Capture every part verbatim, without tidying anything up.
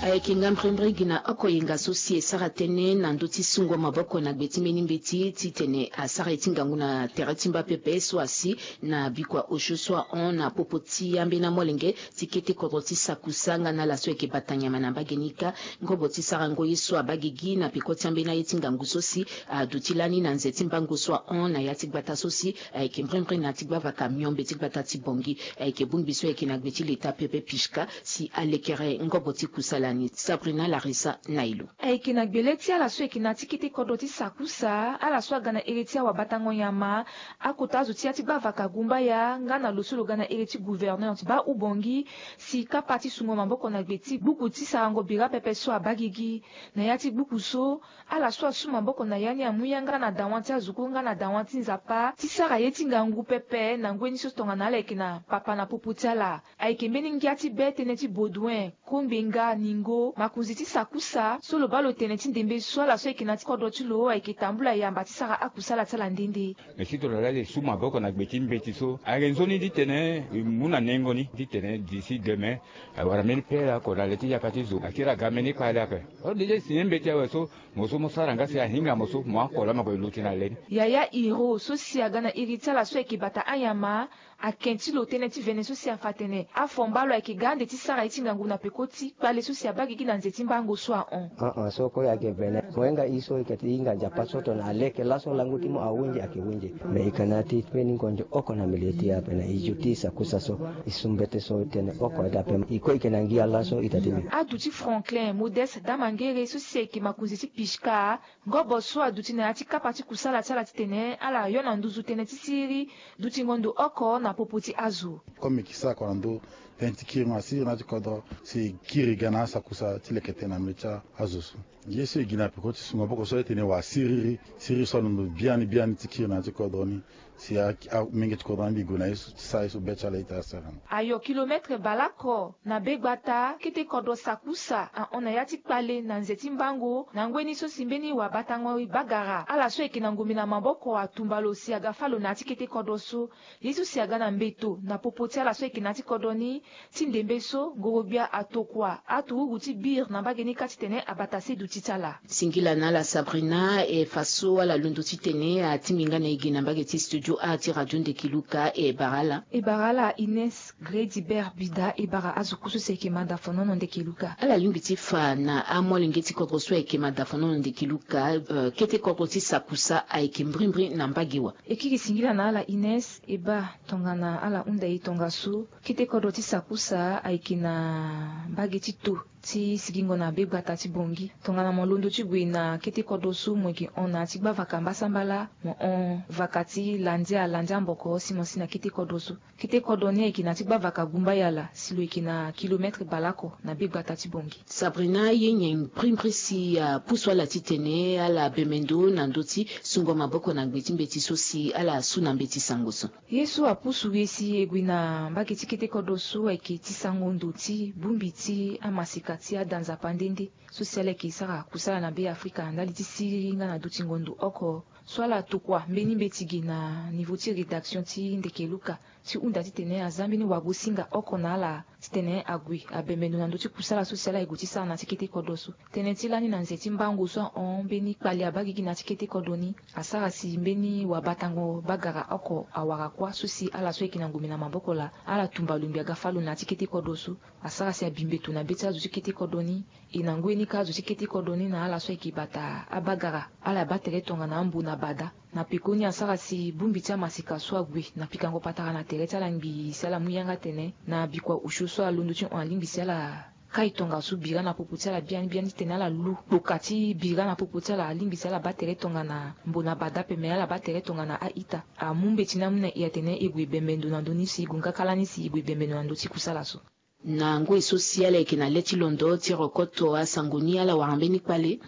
Ayeke nga mbrimbri gi na oko yenga so si e sara tënë na ndö ti sungo maboko na gbe ti mbeni mbeti titene asara ye ti ngangu na tere ti mba pepe so asi na bikua osio so ahon na popo ti ambeni amolenge ti kete kodro ti sakusa nga na ala so ayeke bata nyama na mbage ni kâ. Ngobo ti sarango ye so abaa gigi na peko ti ambeni aye ti ngangu so si aduti lani na nze ti mbango so ahon na ya ti gbata so si ayeke mbrimbri na ya ti gbavaka miombe ti gbata ti Bangui. Ayeke bongbi so ayeke na gbe ti leta pepe Pishka si alekere ngobo ti kusala ni. Sabrina Larissa na e lo. Ayeke na gbele ti ala so ayeke na ya ti kete kodro ti sakusa, ala so aga na ere ti awabatango nyama, akota azo ti ya ti gbavaka gumbaya nga na lo so lo ga na ere ti gouverneur ti baa Ubangui si kapa ti sungo maboko na gbe ti gbuku ti sarango bira pepe so abaa gigi. Na ya ti gbuku so, ala so asu maboko na ya ni amu yanga na dawa ti azo kue nga na dawa ti Nzapa ti sara ye ti ngangu pepe na ngoi ni so tongana ala yeke na papa na popo ti ala. Ayeke mbeni ngia ti be tënë ti Baudouin, Kongbenga, Ningo, makonzi ti sakusa so lo baa lo tene ti ndembe so ala so ayeke na ya ti kodro ti lo ayeke tambula yamba ti sara akusala ti ala nde nde. Me si tongana laa e su maboko na gbe ti mbeti so ayeke nzoni titene e mu na nengo ni titene d'ici demain awara mbeni pere oko na le ti yaka ti zo akiri aga mbeni kpale ape. Ode ti e signé mbeti awe so mo so mo sara nga si ahinga mo so mo oko laa mo yeke luti na le ni. Yaya Hiro so si aga na iri ti ala so ayeke bata anyama, ake ti lo tënë ti vene so si afa atene afomba lo ayeke ga ande ti sara ye ti ngangu na peko ti kpale so si abaa gigi na nze ti mbango so ahon. Aa so kue ayeke vene mo hinga e so e yeke ti hinga Nzapa so tongana aleke laso lango ti mo ahunzi ayeke hunzi. Me e yeke na ya ti mbeni ngonzo oko na milieu ti e ape na e zo ti sakusa so. E su mbete so tënë oko aye ti ape e kue e yeke na ngia laso ita ti mbi. Aduti Franklin Modeste Damangere so si ayeke makonzi ti Pishka. Ngobo so aduti na ya ti kapa ti kusala ti ala titene ala yo na nduzu tënë ti siriri dutingo ndo oko na popo ti azo. Comme e yeke sara oko na ndö tënë ti kiringo na siriri na ya ti kodro si e kiri ga na asakusa ti leke tënë na mbeti ti azo so. Ye so e gi na peko ti su maboko so aye tene wala siriri siriri so alondo biani biani ti kiri na ya ti kodro ni. Si a, a, menge ti kodro ni mbi gue na ye so ti sara ye so be ti ala ita asara na. Ayo kilometre baleoko na be gbata kete kodro sakusa ahon na ya ti kpale na nze ti mbango na ngoi ni so si mbeni wabatango e bagara ala so ayeke na ngombe na maboko atumba lo si aga fâ lo na ya ti kete kodro so. Ye so si aga na mbeto na popo ti ala so ayeke na ya ti kodro ni. Ti ndembe so ngorogbia atokua aturugu ti bire na mbage ni kâ titene abata se duti ti ala. Singila na ala Sabrina e fa so ala londo titene atingbi nga na e gi na mbage ti studio a ti radio Ndeke Luka e bara ala. E bara ala Ines Gredibert Bida e bara azo kue so si ayeke mada fonono Ndeke Luka. Ala lingbi ti fa na amolenge ti kodro so ayeke mada fonono Ndeke Luka, eh, kete kodro ti sakusa ayeke mbrimbri na mbage wa. E kiri singila na ala Ines e baa tongana ala hunda e tongaso. Kete kodro ti sakusa ayeke na mbage ti to ti sigingo na be gbata ti Bangui. Tongana mo londo ti gue na kete kodro so mo yeke hon na ya ti gbavaka mbasambala mo hon vaka ti landia landia mboko si mo si na kete kodro so. Kete kodro ni ayeke na ya ti gbavaka gumbaya ala si lo yeke na kilometre baleoko na be gbata ti Bangui. Sabrina ye nyen mbrimbri si apusu ala titene ala bembe ndo na ndö ti sungo maboko na gbe ti mbeti so si ala su na mbeti sango so. Ye so apusu e si e gue na mbage ti kete kodro so ayeke ti sango ndo ti bongbi ti amaseka ti ada Nzapa nde nde so si ala yeke sara kusala na Be Afrika ndali ti siriri nga na dutingo ndo oko. So ala tokua mbeni mbeti gi na nivo ti rédaction ti Ndeke Luka ti hunda titene aza mbeni wagosinga oko na ala titene ague abembe ndo na ndö ti kusala so si ala ye gue ti sara na ya ti kete kodro so. Tënë ti lani na nze ti mbango so ahon mbeni kpale abaa gigi na ya ti kete kodro ni. Asara si mbeni wabatango bagara oko awara kuâ so si ala so ayeke na ngombe na maboko laa ala tumba lo ngbi aga fâ lo na ya ti kete kodro so. Asara si abi mbeto na be ti azo ti kete kodro ni. E na ngoi ni kâ azo ti kete kodro ni na ala so ayeke bata abagara ala baa tere tongana ambo na bada. Na pekoni asara si bongbi ti amaseka so ague na pikango patara na tere ti ala ngbii si ala mu yanga atene na bikua osio so alondo ti hon alingbi si ala kai tongaso bira na popo ti ala biani biani titene ala lu kpoka ti bira na popo ti ala alingbi si ala baa tere tongana mbo na bada ape me ala baa tere tongana a-ita. Amu mbeti ni amu na e atene e gue bembe ndo na ndö ni si e gue nga kâ lani si e gue bembe ndo na ndö ti kusala so. Na ngoi so si ala yeke na le ti londo ti rokoto asango ni ala wara mbeni kpale.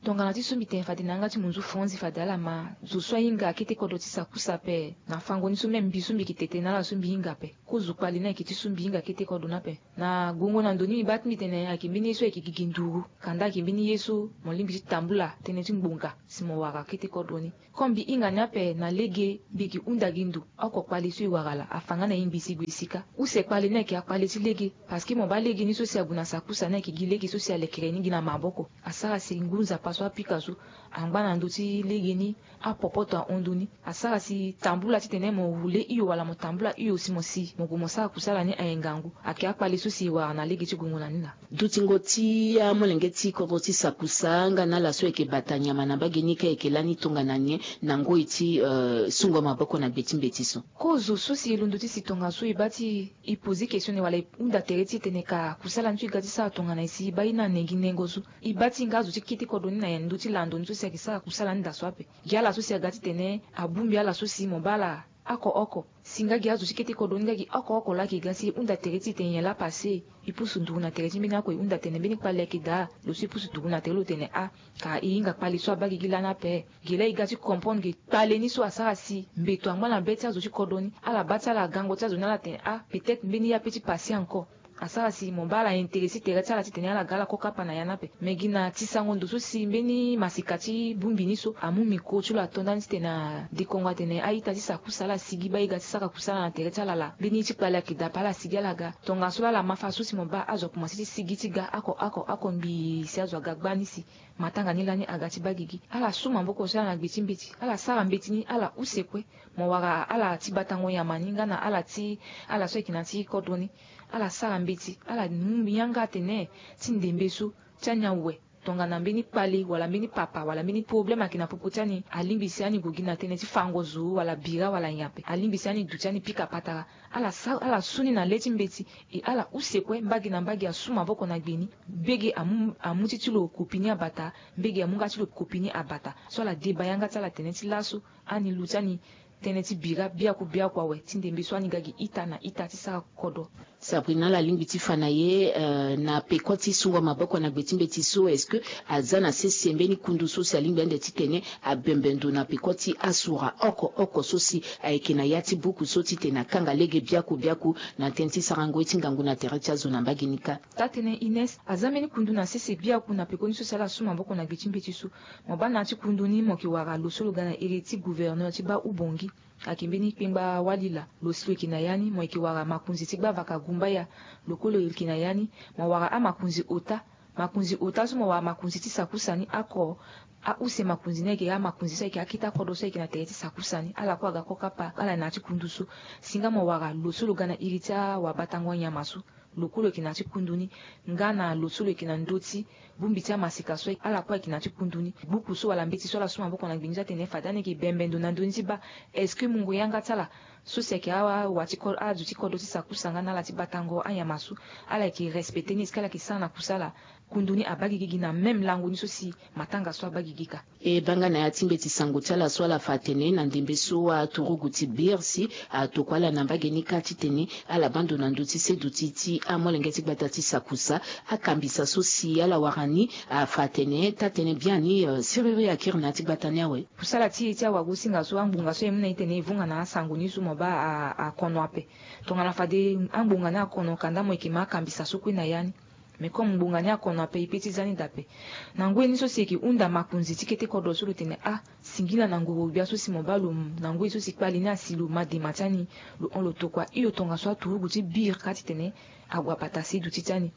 Tongana ti so mbi tene fade na yanga ti munzu franzi fade ala ma zo so ahinga kete kodro ti sakusa ape. Na fango ni so même mbi so mbi yeke tete na ala so mbi hinga ape. Kozo kpale ni ayeke ti so mbi hinga kete kodro ni ape. Na gongo na ndo ni mbi baa ti mbi tene ayeke mbeni ye so ayeke gigi nduru. Kanda ayeke mbeni ye so mo lingbi ti tambula tënë ti ngbonga si mo wara kete kodro ni. Comme mbi hinga ni ape na lege mbi yeke hunda gi ndo oko kpale so e wara ala afa nga na e ngbi si gue si kâ. Use kpale ni ayeke akpale ti lege. Parce que mo baa lege ni so si ague na sakusa ni ayeke gi lege so si alekere ni gi na maboko. Asara si ngu nzapa so apika so angba na ndö ti lege ni. Apopoto ahon ndö ni. Asara si tambula titene mo wule hio wala mo tambula hio si mo si mo gue mo sara kusala ni aye ngangu. Ayeke akpale so si e wara na lege ti gongo na ni laa. Dutingo ti amolenge ti kodro ti sakusa nga na ala so ayeke bata nyama na mbage ni ka ayeke lani tongana nyen na ngoi ti, eh, sungo maboko na gbe ti mbeti so? Kozo so si e londo ti si tongaso e baa ti e poser question ni wala e hunda tere ti e tene ka kusala ni so e ga ti sara tongana nyen si e baa e na nengi nengo so? E baa ti e nga azo ti kete kodro ni na nyen ndö ti lando ni so si ayeke sara kusala ni daa so ape? Gi ala so si aga titene abongbi ala so si mo baa ala oko oko. Si nga gi azo ti kete kodro ni nga gi oko oko laa ayeke ga si e hunda tere ti e tene nyen laa passé. E pusu nduru na tere ti mbeni oko e hunda tene mbeni kpale ayeke daa. Lo so e pusu nduru na tere lo tene ah, ka e hinga kpale so abaa gi gi lani ape. Gi laa e ga ti comprendre gi kpale ni so asara si mbeto angba na be ti azo ti kodro ni. Ala baa ti ala gango ti azo ni ala tene ah, peut-être mbeni ye ape ti passé encore. Asara si mo baa ala intéressé tere ti ala titene ala ga ala kokapa na ya ni ape. Me gi na ti sango ndo so si mbeni masika ti bongbi ni so amu micro ti lo ato ndani titene adekongo atene a-ita ti sakusa ala sigi baa e ga ti sara kusala na tere ti ala laa. Mbeni ye ti kpale ayeke daa ape ala sigi ala ga. Tongaso laa ala ma fa so si mo baa azo akomanse ti sigi ti ga oko oko oko ngbii si azo aga gbani si matanga ni lani aga ti baa gigi. Ala su maboko ti ala na gbe ti mbeti. Ala sara mbeti ni ala use kue. Mo wara ala ti batango nyama ni nga na ala ti ala so ayeke na ya ti kodro ni. Ala sara mbeti ala mu yanga atene ti ndembe so ti anyan awe tongana mbeni kpale wala mbeni papa wala mbeni problème ayeke na popo ti ani alingbi si ani gue gi na tënë ti fango zo wala bira wala nyen ape. Alingbi si ani duti ani pika patara. Ala sa ala su ni na le ti mbeti. E ala use kue mbage na mbage asu maboko na gbe ni. Mbege amu amu ti ti lo kopi ni abata. Mbege amu nga ti lo kopi ni abata. So ala deba yanga ti ala tene ti laso ani lu ti ani tënë ti bira biaku biaku awe ti ndembe so ani ga gi ita na ita ti sara kodro. Sabrina, ala lingbi ti fa na ye, eh, na peko ti sungo maboko na gbe ti mbeti so, est-ce que aza na sese mbeni kundu so si alingbi ande titene abembe ndo na peko ti asura oko oko so si ayeke na ya ti buku so titene akanga lege biaku biaku na tënë ti sarango ye ti ngangu na tere ti azo na mbage ni kâ? Taa-tënë Ines, aza mbeni kundu na sese biaku na peko ni so si ala su maboko na gbe ti mbeti so. Mo baa na ya ti kundu ni mo yeke wara lo so lo ga na iri ti gouverneur ti baa Ubongi. Ayeke mbeni kpengba wali laa. Lo si lo yeke na ya ni mo yeke wara makonzi ti gbavaka gumbaya. Lo kue lo yeke na ya ni. Mo wara amakonzi ota. Makonzi ota so mo wara makonzi ti sakusa ni oko. Ause makonzi ni ayeke amakonzi so ayeke akete akodro so ayeke na tere ti sakusa ni ala kue aga kokapa ala na ya ti kundu so. Si nga mo wara lo so lo ga na iri ti awabatango nyama so. Lo kue lo yeke na ya ti kundu ni. Nga na lo so lo yeke na ndö ti bongbi ti amasika so ala kue ayeke na ya ti kundu ni. Buku so wala mbeti so ala su maboko na gbe ni so atene fade ani yeke bembe ndo na ndö ni ti baa. Est-ce que mungo yanga ti ala so si ayeke awa ti kodro azo ti kodro ti sakusa nga na ala ti batango anyama so ala yeke respecté ni est-ce que ala yeke sara na kusala? Kundu ni abaa gigi gi na même lango ni so si matanga so abaa gigi kâ. E baa nga na ya ti mbeti sango ti ala so ala fa atene na ndembe so aturugu ti birsi atokua ala na mbage ni kâ titene ala baa ndo na ndö ti seduti ti amolenge ti gbata ti sakusa. Akambisa so si ala wara ni afa atene taa-tënë biani, eh, siriri akiri na ya ti gbata ni awe. Kusala ti e ti awagosinga so angbonga so e mu na e tene e vonga na asango ni so mo baa a, akono ape. Tongana fade angbonga ni akono kanda mo yeke ma akambisa so kue na ya ni. Mais comme ngbonga ni akono ape e pe ti za ni daa ape. Na ngoi ni so si e yeke hunda makonzi ti kete kodro so lo tene ah, singila na ngoro-gbia so si mo baa lo na ngoi so si kpale ni asi lo ma dema ti ani. Lo hon lo tokua hio tongaso aturugu ti biri kâ titene ague abata seduti ti ani.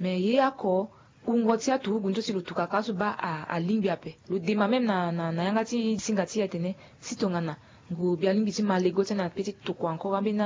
Mais ye oko wungo ti aturugu ni so si lo tuka kâ so baa a, alingbi ape. Lo dema même na, na, na yanga ti singa ti e atene si tongana ngoro-gbia alingbi ti ma lego ti ani ape ti tokua encore ambeni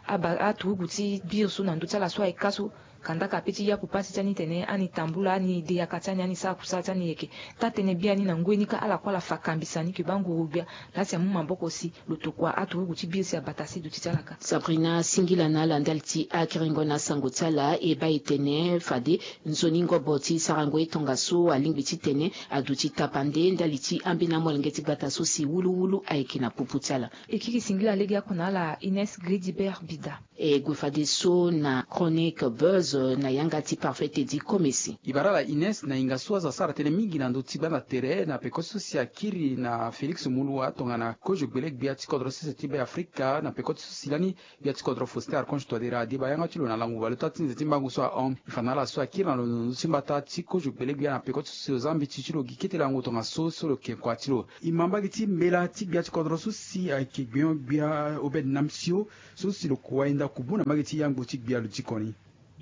aba aturugu ti biri so na ndö ti ala so ayeke kâ so. Kandaka ape ti yaku pasi ti ani tene ani tambula ani de yaka ti ani ani sara kusala ti ani yeke. Taa-tënë biani na ngoi ni kâ ala kue ala fa kambisa ni ke baa ngoro-gbia laa si amu maboko si lo tokua aturugu ti biri si abata seduti ti ala kâ. Sabrina, singila na ala ndali ti akiringo na asango ti ala. E baa e tene fade nzoni ngobo ti sarango ye tongaso alingbi titene aduti tapande ndali ti ambeni amolenge ti gbata so si wuluwulu ayeke na popo ti ala. E kiri singila lege oko na ala Ines Gridibert Bida. E gue fadeso na Chronique Buzz na yanga ti Parfait Teddy Komesi. E bara ala Ines na hinga so azo asara tënë mingi na ndö ti gbanda tere na peko so si akiri na Félix Moloua tongana kozo gbele gbia ti kodro sese ti Be Afrika na peko ti so si lani gbia ti kodro Faustin Archange Touadéra adeba yanga ti lo na lango baleota ti nze ti mbango so ahon. E fa na ala so akiri na lo na ndö ti mbata ti kozo gbele gbia na peko ti so si lo za mbeti ti lo gi kete lango tongaso so lo ke kua ti lo. E ma mbage ti mbela ti gbia ti kodro so si ayeke gbenyo-gbia Obed Namsio so si lo kua e nda kubu na mbage ti yangbo ti gbia lo diko ni.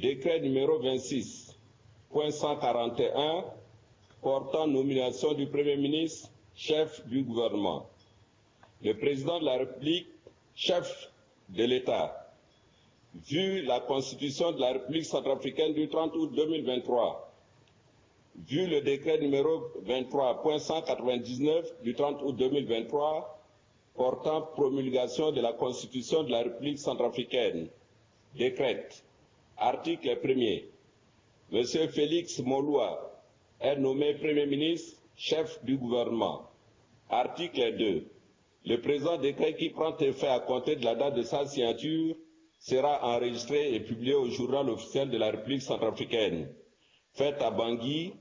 Décret numéro vingt-six point cent quarante et un portant nomination du Premier ministre, chef du gouvernement. Le président de la République, chef de l'État. Vu la Constitution de la République centrafricaine du trente août deux mille vingt-trois, vu le décret numéro vingt-trois point cent quatre-vingt-dix-neuf du trente août deux mille vingt-trois portant promulgation de la Constitution de la République centrafricaine, décrète, article premier, Monsieur Félix Moloua est nommé Premier ministre, chef du gouvernement. Article deux. Le présent décret qui prend effet à compter de la date de sa signature sera enregistré et publié au Journal officiel de la République centrafricaine. Fait à Bangui,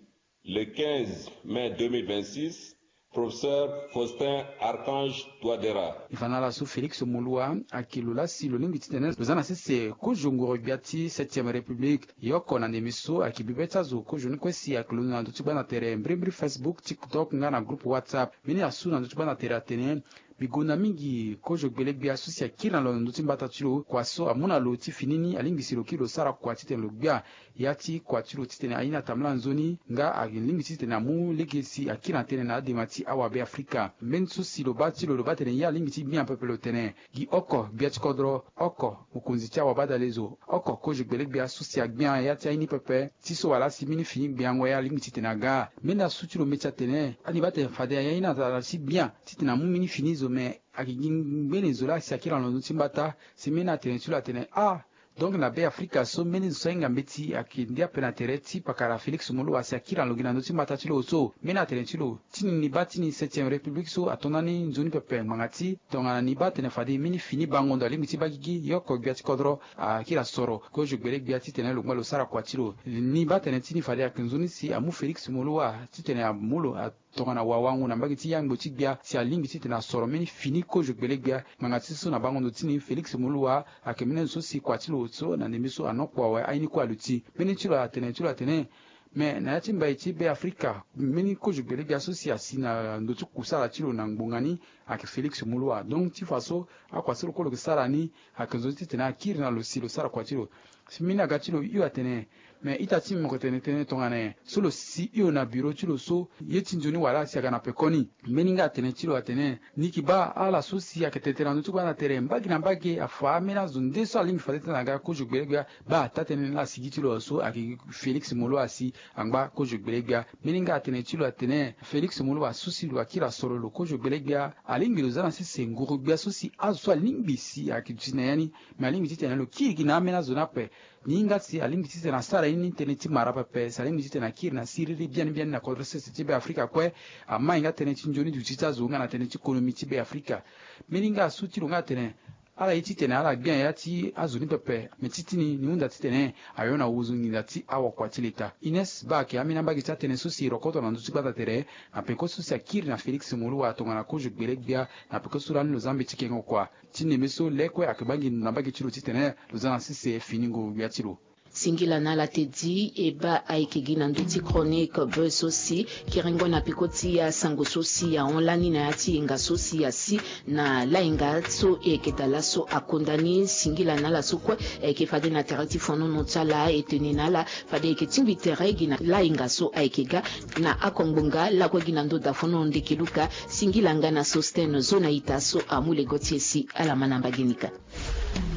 le quinze mai deux mille vingt-six, professeur Faustin Archange Touadéra. E fa na ala so Félix Moloua ayeke lo laa si lo lingbi titene lo za na sese kozo ngoro-gbia ti septième république. E oko na ndembe so ayeke bibe ti azo kozo ni kue si ayeke londo na ndö ti gbanda tere mbrimbri Facebook, TikTok nga na groupe WhatsApp. Mbeni asu na ndö ti gbanda tere atene, mbi gonda mingi kozo gbele gbia so si akiri na lo na ndö ti mbata ti lo. Kua so amu na lo ti fini ni alingbi si lo kiri lo sara kua titene lo gbia ya ti kua ti lo titene aye ni atambula nzoni nga alingbi ti titene amu lege si akiri na tënë na adema ti awabe Afrika. Mbeni so si lo baa ti lo, lo baa tene ye alingbi ti gbia pepe lo tene gi oko gbia ti kodro, oko mokonzi ti awabadalezo, oko kozo gbele gbia so si agbia ya ti aye ni pepe. Ti so wala si mbeni fini gbiango ya alingbi titene aga. Mbeni asu ti lo meti atene ani baa tene fade aye ni atara ti gbia titene amu mbeni fini zo me ayeke gi ngbene zo laa si akiri na lo ndö ti mbata. Si mbeni atene ti lo atene ah, donc na Be Afrika so mbeni zo so ahinga mbeti ayeke ndia ape na tere ti pakara Félix Moloua si akiri na lo gi na ndö ti mbata ti lo so. Mbeni atene ti lo ti ni ni baa ti ni septième république so ato ndani nzoni pepe ngbanga ti tongana ni baa tene fade mbeni fini bango ndo alingbi ti baa gigi, e oko gbia ti kodro akiri asoro kozo gbele gbia titene lo ngba lo sara kua ti lo. Ni baa tene ti ni fade ayeke nzoni si amu Félix Moloua titene amu lo a tongana wawango na mbage ti yangbo ti gbia si alingbi titene asoro mbeni fini kozo gbele gbia. Ngbanga ti so na bango ndo ti ni Félix Moloua ayeke mbeni azo so si kua ti lo so na ndembe so anokpo awe aye ni kue aluti. Mbeni ti lo atene ti lo atene me na ya ti mbai ti Be Afrika, mbeni kozo gbele gbia so si asi na ndö ti kusala ti lo na ngbonga ni ayeke Félix Moloua. Donc ti fa so akua so lo kue lo yeke sara ni ayeke nzoni titene akiri na lo si lo sara kua ti lo. Si mbeni aga ti lo hio atene me ita ti mbi mo yeke tene tënë tongana nyen so lo si hio na biro ti lo so ye ti nzoni wala si aga na pekoni. Mbeni nga atene ti lo atene ni yeke baa ala so si ayeke tene tënë na ndö ti gbanda tere mbage na mbage afa ambeni azo nde so alingbi fade tënë aga kozo gbele gbia. Baa taa-tënë ni laa asi gi ti lo so ayeke Félix Moloua si angba kozo gbele gbia. Mbeni nga atene ti lo atene Félix Moloua so si lo akiri asoro lo kozo gbele gbia alingbi lo za na sese nguru gbia so si azo so alingbi si ayeke duti na ya ni. Me alingbi titene lo kiri gi na ambeni azo ni ape. Ni hinga si alingbi titene asara ye ni tënë ti mara pepe si alingbi titene akiri na siriri biani biani na kodro sese ti Be Afrika kue. Amai nga tënë ti nzoni duti ti azo nga na tënë ti konomi ti Be Afrika. Mbeni nga asu ti lo nga atene ala ye titene ala gbia ya ti azo ni pepe. Me ti ti ni ni hunda titene ayo na wozo nginza ti awakua ti leta. Ines baa ayeke ambeni ambage ti atënë so si e rokoto na ndö ti gbata tere na peko so si akiri na Félix Moloua tongana kozo gbele gbia na peko so lani lo za mbeti kengo kua. Ti ndembe so le kue ayeke baa nginza na mbage ti lo titene lo za na sese fini nguru gbia ti lo. Singila na ala te di e baa ayeke gi na ndö ti chronique be so si kerengo na peko ti asango so si ahon lani na ya ti yenga so si asi na layenga so e yeke daa laso akonda ni. Singila na ala so kue e yeke fade na tere ti fonono ti ala e tene na ala fade e yeke tingbi tere gi na layenga so ayeke ga na akongbonga lakue gi na ndö dafono ndeke luka. Singila nga na Sostène zo na ita so amu lego ti e si ala ma na mbage ni ka.